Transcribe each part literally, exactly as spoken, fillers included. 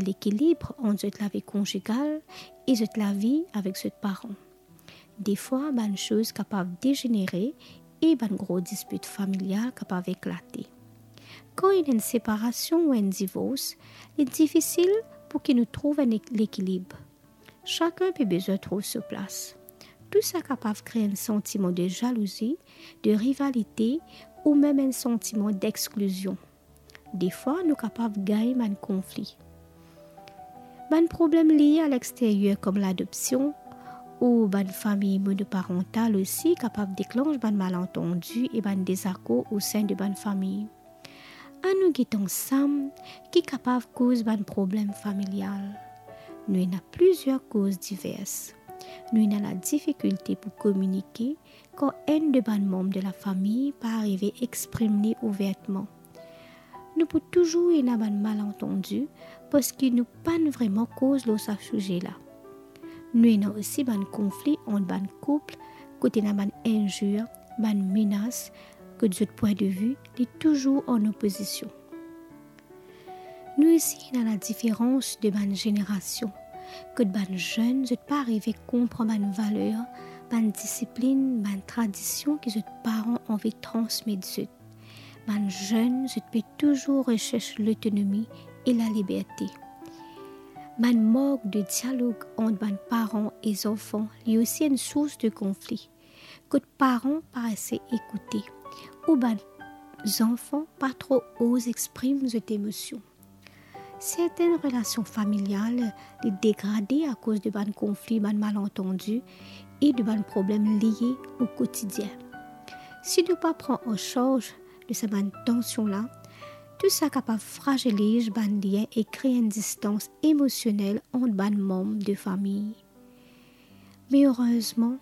lekilib ant zot lavi konjigal e zot lavi avek zot paran. Defwa, bann soz kapav dezenere e bann gro dispit familial kapav eklate. Kan ena enn separasion ou enn divors, li difisil pou ki nou trouv enn ek-, lekilib. Sakenn pe bizin trouv so plas. Tou sa kapav kre enn santiman de zalouzi, de rivalite ou mem enn santiman dexklizion. Defwa, nou kapav gagn bann konfli. Bann problem lie a lexteryer, kom ladopsion ou bann fami monoparantal, osi kapav deklans bann malantandi e bann dezakor osin de bann fami. Anou get ansam ki kapav koz bann problem familial. Nou ena plizier koz divers. Nou ena ladifikilte pou kominike kan enn de bann manm de lafami pa arive exprim li ouvertman. Nou pou touzour ena bann malantandi parski nou pa'nn vreman koz lor sa size la. Nou ena osi bann konfli ant bann koup kot ena bann inzir, bann menas, kot zot pwin de vi li touzour an opozision. Nou osi ena ladiferans de bann zenerasion, kot bann zenn zot pa arive konpran bann valer, bann disiplinn, bann tradision ki zot paran anvi transmet zot. Bann zenn zot pe touzour resers lotonomi e laliberte. Bann mank de dialog ant bann paran e zanfan, li osi enn sours de konfli. Kot paran pa ase ekoute, ou bann zanfan pa tro oz exprim zot emosion. Sertenn relasion familial li degrade akoz de bann konfli, bann malantandi e de bann problem lie o kotidien. Si nou pa pran an sarz de sa bann tansion la, tou sa kapav fraziliz bann lien e kre enn distans emosionel ant bann manm de fami. Me erezman,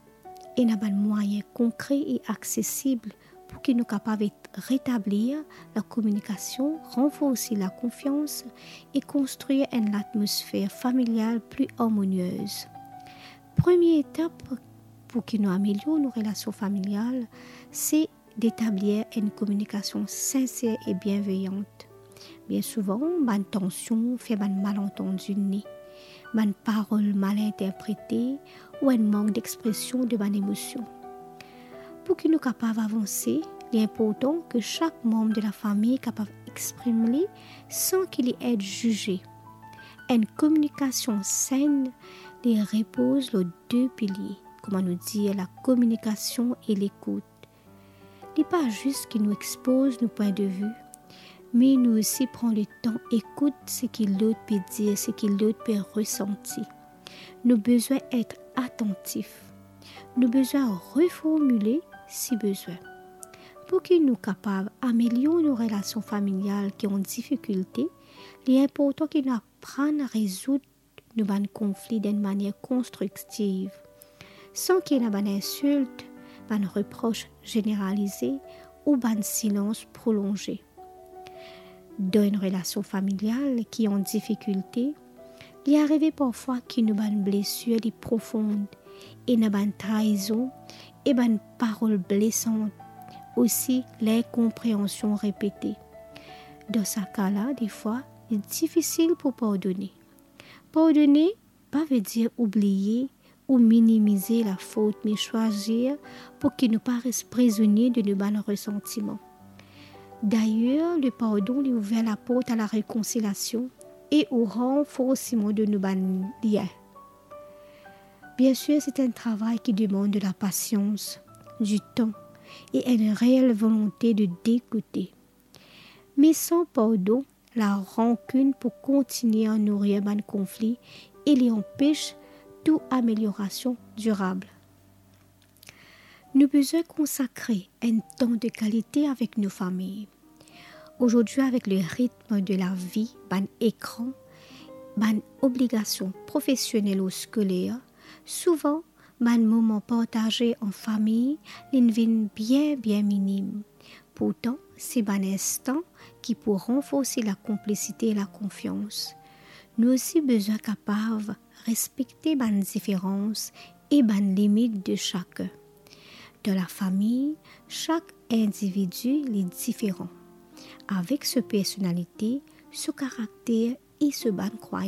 ena bann mwayin konkre e aksesib pou ki nou kapav et-, retablir lakominikasion, ranforse lakonfians e konstrir enn latmosfer familial pli armoniez. Premie etap pou ki nou amelior nou relasion familial, se detablir enn kominikasion sinser e bienveyan. Bien souvan, bann tansion fer bann malantandi ne, bann parol mal interprete ou enn mank dexpresion de bann emosion. Pou ki nou kapav avanse, li inportan ki sak manm de lafami kapav exprim li san ki li et zize. Enn kominikasion senn, li repoz lor de pilie, kouma nou dir, lakominikasion e lekout. Li pa zis ki nou expoz nou pwin de vi, me nou osi pran letan ekout seki lot pe dir, seki lot pe resanti. Nou bizin et atantif. Nou bizin reformile si bizin. Pou ki nou kapav amelior nou relasion familial ki an difikilte, li inportan ki nou aprann rezoud nou bann konfli dan enn manier konstriktiv, san ki ena bann insilt, bann repros zeneralize ou bann silans prolonze. Dan enn relasion familial ki an difikilte, li arive parfwa ki nou bann blesir li profon, ena bann traizon e bann parol blesan, osi linkonpreansion repete. Dan sa ka la, defwa, li difisil pou pardone. Pardone pa ve dir oubliye ou minimize lafot, me swazir pou ki nou pa res prizonie de nou bann resantiman. Dayer, lepardon li ouver laport a larekonsiliasion e o ranforsiman de nou bann lien. Biensir, se enn travay ki demann de lapasians, ditan e enn reel volonte de dekoute. Me san pardon, larankinn pou kontigne a nourir bann konfli e li anpes tou ameliorasion dirab. Nou bizin konsakre enn tan de kalite avek nou fami. Azordi, avek le ritm de lavi, bann ekran, bann obligasion profesionel ou skoler, souvan bann moman partaze an fami, li'nn vinn bien, bien minim. Pourtan, se bann instan ki pou ranforse lakonplisite e lakonfians. Nou osi bizin kapav respekte bann diferans e bann limit de sakenn. Dan lafami, sak individi li diferan, avek so personalite, so karakter e so bann krwayans.